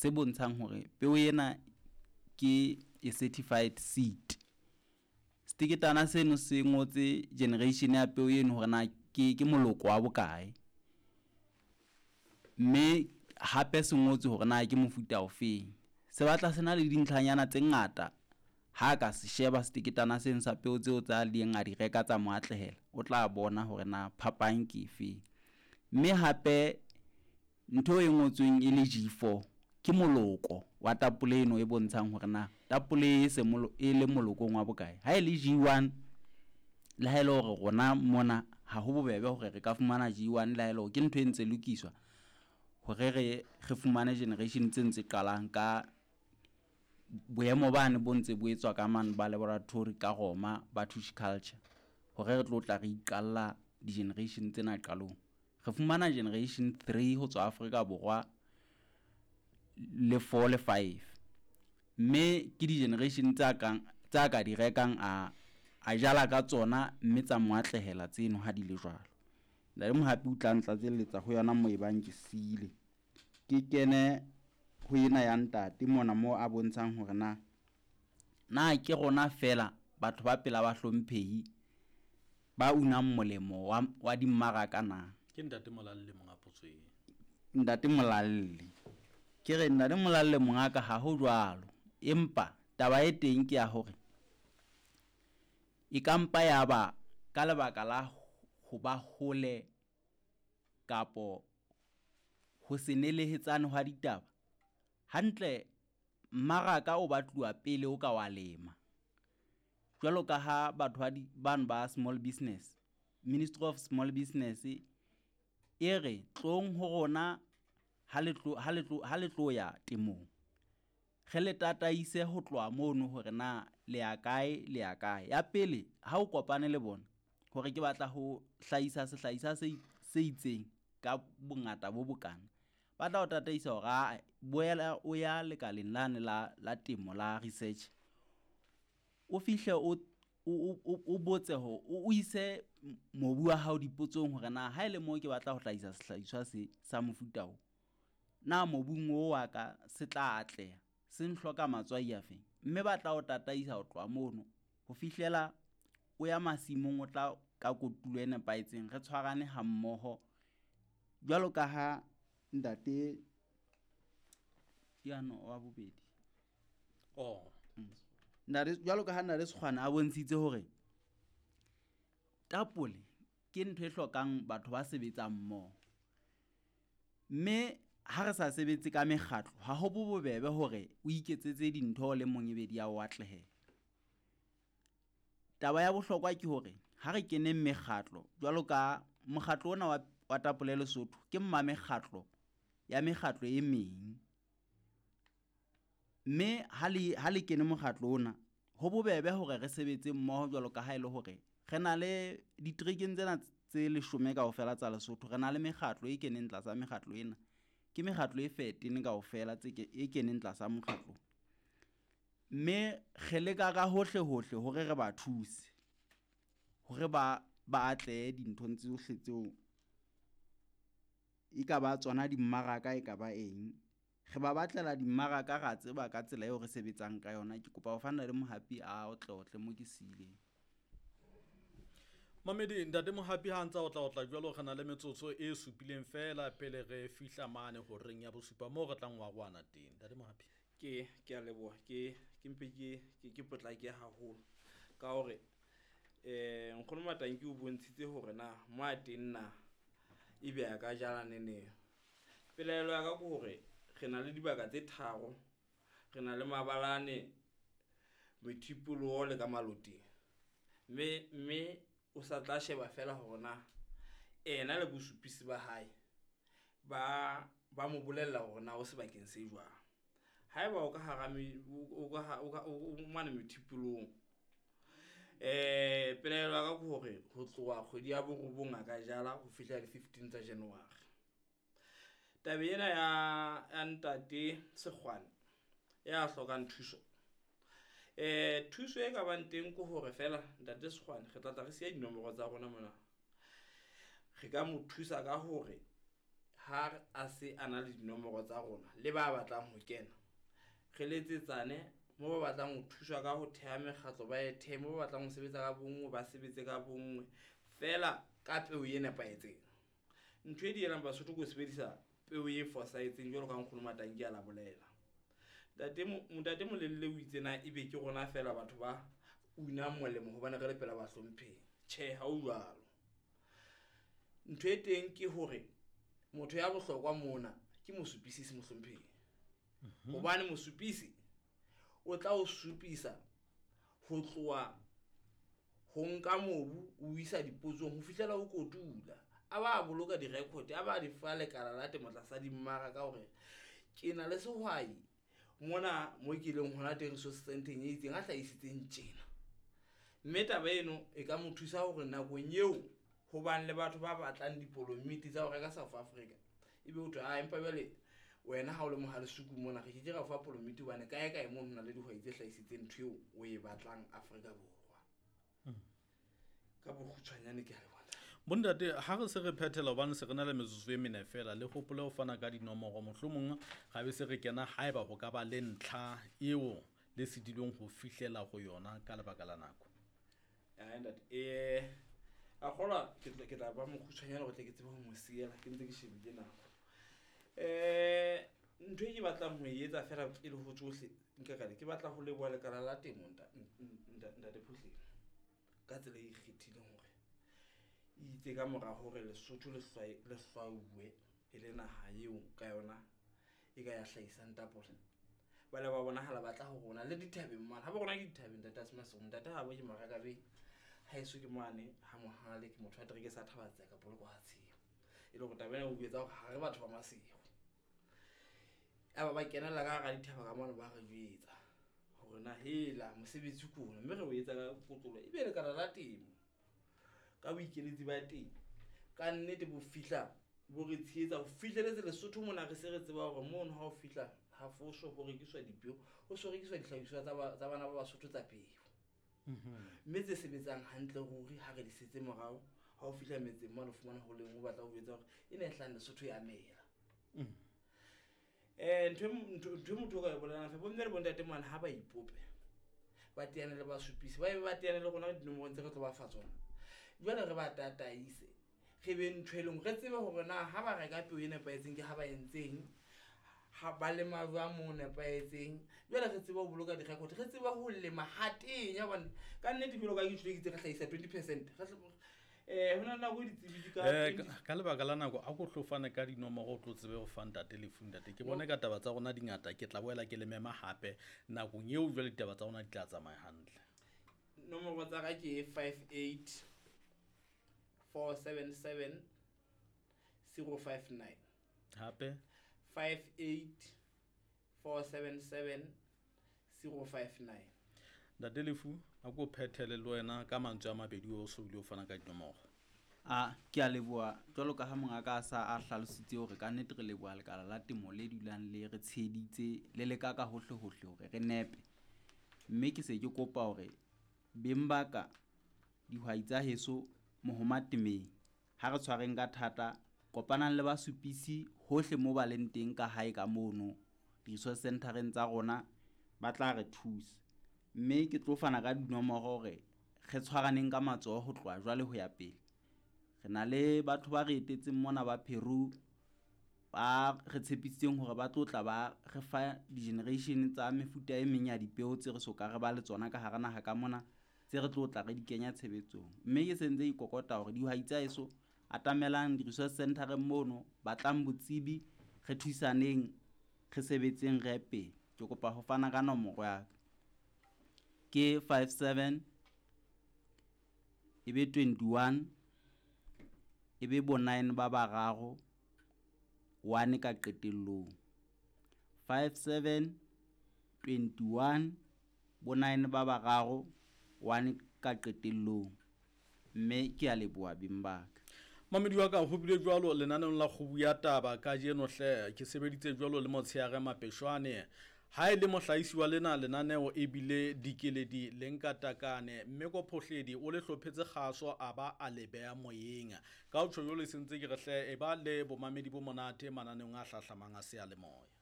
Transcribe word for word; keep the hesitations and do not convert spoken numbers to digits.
se bontshang hore peo ena ke a certified seed. Seteketana seno se ngotse generation ya peo eno hore na ke ke moloko wa bokae. Mme hape se ngotswe hore na ke mofuta ofeng. Se batla se na le dintlhanyana tse ngata ha ka se sheba seteketana seno sa peo tseo tsa leng a di reka tsa mo atlehela, o tla bona hore na phapang ke efeng. Mme hape ntho e ngotsweng e le G four ke moloko wa tapole eno e bontshang hore na tapole e se e le molokong wa bokae. Ha e le G one, le ha ele hore rona mona ha ho bobebe hore re ka fumana G one, le ha ele hore ke ntho e ntse lokiswa hore re re fumane generation tse ntse qalang ka boemo bane bo ntse bo etswa ka mane ba laboratory ka Roma ba tissue culture, hore re tlo tla re iqalla di-generation tsena qalong. Re fumana generation three ho tswa Afrika Borwa le four le five, mme ke di-generation tsa kang tsa ka di rekang a a jala ka tsona, mme tsa mo atlehela tseno ha di le jwalo. Ntate Mohapi o tla ntlatselletsa ho yona moo e bang ke siile. Ke kene ho ena ya ntate mona moo a bontshang hore na na ke rona fela batho ba pela ba hlomphehi ba unang molemo wa, wa dimmaraka na? Ke ntate Molalle monga potso e. Ntate Molalle. Ke re ntate Molalle mongaka ha ho jwalo, empa taba e teng ke ya hore e ka mpa ya ba ka lebaka la ho ba hole kapo ho se nelehetsane hwa ditaba. Hantle mmaraka o batluwa pele o ka wa lema. Jwalo ka ha batho ba di bano ba small business, Ministry of Small Business e re tlong ho rona ha le tlo ha le tlo ha le tlo ya temong. Re le tataise ho tloha mono hore na le ya kae le ya kae. Ya pele ha o kopane le bona hore ke batla ho hlahisa sehlahiswa se se itseng ka bongata bo bokana, ba tla o tataisa hore aa boela o ya lekaleng lane la la temo la research. O fihle o o o o botse ho o ise mobu wa hao dipotsong hore na ha ele moo ke batla ho hlahisa sehlahiswa se sa mofuta o, na mobung o wa ka se tla atleha, se nhloka matswai a feng? Mme ba tla o tataisa ho tloha mono ho fihlela o ya masimong, o tla ka kotulo e nepahetseng, re tshwarane ha mmoho jwalo ka ha ntate yano wa bobedi. Oh. Mm. Ntate, jwalo ka ha ntate Sekgwane a bontshitse hore tapole ke ntho e hlokang batho ba sebetsang mmoho. Mme ha re sa sebetse ka mekgatlo, ha ho bo bobebe hore o iketsetse dintho o le mong ebe di a o atlehela. Taba ya bohlokwa ke hore ha re keneng mekgatlo, jwalo ka mokgatlo ona wa, wa tapole Lesotho, ke mma mekgatlo ya mekgatlo e meng. Mme ha le ha le kene mokgatlo ona, ho bobebe hore re sebetse mmoho jwalo ka ha ele hore re na le diterekeng tsena tse leshome kaofela tsa Lesotho, re na le mekgatlo e keneng tlasa mekgatlo ena. Ke mekgatlo e thirteen kaofela tse ke e keneng tlasa mokgatlo. Mme re leka ka hohle hohle hore re ba thuse hore ba ba atlehe dinthong tsohle tseo e ka ba tsona dimmaraka e ka ba eng. Re ba batlela dimmaraka, ra tseba ka tsela eo re sebetsang ka yona. Ke kopa ho fa Ntate Mohapi a otleotle mo ke siileng. Mamedi, ntate Mohapi ha ntsa otla otla jwalo, re na le metsotso e supileng fela pele re fihla mane horeng ya bosupa moo re tlang wa rwana teng. Ntate Mohapi. Ke ke a leboha, ke ke mpe ke ke ke potlake haholo ka hore eh nkgono Matanki o bontshitse hore na mo a teng na ebe a ka jala neneng. Pelaelo ya ka ke hore re na le dibaka tse tharo, re na le mabalane, methipoloho le ka maloteng. Mme mme o sa tla sheba fela hore na ena le bosupisi ba hae ba ba mo bolella hore na o sebakeng se jwang. Haeba o ka hara me, o ka o ka o mane methipolong, eh pelaelo ya ka ke hore ho tloha kgwedi ya borobong a ka jala ho fihla le fifteen tsa January. Taba ena ya, ya ntate Sekgwane ya hlokang thuso, eh thuso e ka bang teng ke hore fela ntate Sekgwane re tla tla re siya dinomoro tsa rona mona. Re ka mo thusa ka hore Ha a se a na le dinomoro tsa rona le ba batlang ho kena, re letsetsane mo ba batlang ho thuswa ka ho theha mekgatlo ba e thehe, mo ba batlang ho sebetsa ka bonngwe ba sebetse ka bonngwe, feela ka peo e nepahetseng. Ntho e dielang Basotho ke ho sebedisa peo e fosahetseng jwalo ka nkgono Matanki a la bolela. Ntate Ntate Molelle o itse na ebe ke rona feela batho ba unang molemo hobane re le pela bahlomphehi. Tjhe, ha ho jwalo. Ntho e teng ke hore motho ya bohlokwa mona ke mosupisi mohlomphehi. Hobane mosupisi o tla o supisa ho tloha ho nka mobu o isa dipotsong ho fihlela o kotula. A ba boloka di-record, a ba di fa lekala la temo tlasa dimmaraka hore ke na le sehwai mona mo ke leng hona teng resource centeng e itseng a hlahisitseng tjena. Mme taba eno e ka mo thusa hore nakong eo ho bang le batho ba batlang dipolomiti tsa ho reka South Africa, ebe ho thwe ah empa jwale wena ha o le Mohalesuku mona re keke ra o fa polomiti hobane kae kae mono ho na le dihwai tse hlahisitseng ntho eo o e batlang Afrika Borwa. Ka bokgutshwanyane ke a leboha. Bontate, ha re se re phethela hobane se re na le metsotso e mene fela, le hopole ho fana ka dinomoro, mohlomong ra be se re kena haeba ho ka ba le ntlha eo le sitilweng ho fihlela ho yona ka lebaka la nako. Ah, ntate, eh a kgolwa ke tla ke tla ba mokgutshwanyane hore tle ke tsebe ho mo siela, ke ntse ke shebile nako. Eh ntho e ke batlang ho e etsa fela pele ho tsohle nka ka ke batla ho leboha lekala la temo ntate Phuhleng ka tsela e ikgethileng hore itse ka mora hore Lesotho le le hlwauwe e le naha eo ka yona e ka ya hlahisang tapole. Ba le ba bonahala ba tla ho rona le dithabeng mane. Ha ba rona ke dithabeng ntate Asmase, ntate ha bo ke Marakabeng, haeso ke mane ha Mohale, ke motho wa tereke sa Thabatseka ka poloko ha tshimo. E le hore taba ena o etsa hore ha re batho ba Maseru. Aba ba kenella ka hara dithaba ka mane ba re jwetsa hore na hela mosebetsi ke ona, mme re o etsa ka kotlolo ebe lekala la temo ka boikeletsi ba teng ka nnete bo fihla bo re tshehetsa ho fihleletse Lesotho mona. Re se re tseba hore mono ha o fihla ha foso ho rekiswa dipeo, ho so rekiswa dihlahiswa tsa bana ba Basotho tsa peo, mme tse sebetsang hantle ruri ha re di setse morao. Ha o fihla metseng mane o fumana ho leng o batla ho jwetsa hore e ne e hlahang Lesotho ya mela. Eh ntho ntho motho o ka e bolelang fe bomme le bontate mane ha ba ipope ba teane le basupisi, ba be ba teane le rona dinomorong tse re tlo ba fa tsona. Jwale re ba tataise, re be ntho e leng re tsebe hore na ha ba reka peo e nepahetseng ke ha ba entseng, ha ba lema jwang mo nepahetseng. Jwale re tsebe ho boloka di-record, re tsebe ho lema ha tenya hobane ka nnete jwalo ka ke tjho ke itse re hlahisa twenty percent. Eh ho na le nako e ditsebi di ka Eh ka lebaka la nako a ko tlo fane ka dinomoro o tlo tsebe ho fa ntate Lefu. Ntate ke bone ka taba tsa rona di ngata, ke tla boela ke le mema hape nakong eo jwale ditaba tsa rona di tla tsamaya hantle. Nomoro tsa ka ke five eight four seven seven zero five nine. Hape five eight four seven seven zero five nine. Ntate Lefu, a ko phethele le wena ka mantswe a mabedi o so bile o fana ka dinomoro. A ke a leboha jwalo ka ha mongaka a sa a hlalositse hore ka nnete re leboha lekala la temo le dulang le re tsheheditse le leka ka hohle hohle hore re nepe. Mme ke se ke kopa hore beng ba ka dihwai tsa heso mohoma temeng ha re tshwareng ka thata, kopanang le basupisi hohle mo ba leng teng ka hae ka mono di-resource centereng tsa rona, ba tla re thusa. Mme ke tlo fana ka dinomoro hore re tshwaraneng ka matsoho ho tloha jwale ho ya pele. Re na le batho ba re etetseng mona ba Peru ba re tshepisitseng hore ba tlo tla ba re fa di-generation tsa mefuta e meng ya dipeo tse re soka re ba le tsona ka hara naha ka mona, tse re tlo tla re di kenya tshebetsong. Mme ke sentse ikokota hore dihwai tsa heso atamelang di-resource centereng mono, batlang botsebi, re thusaneng, re sebetseng re ye pele. Ke kopa ho fana ka nomoro ya ka ke five seven ebe twenty-one ebe bo nine ba bararo one ka qetellong. five seven twenty-one bo nine ba bararo one ka qetellong. Mme ke a leboha beng ba ka. Mamedi wa ka, ho bile jwalo lenaneong la Kgubu ya Taba kajeno hle. Ke sebeditse jwalo le Motsheare Mapeshwane. Ha e le mohlahisi wa lena lenaneo ebile Dikeledi le Nkatakane, mme ko Phohledi o le hlophetse kgaso a ba a le beha moyeng. Ka ho tjho jwalo, se ntse ke re hle e ba le bomamedi bo monate mananeong a hlahlamang a seyalemoya.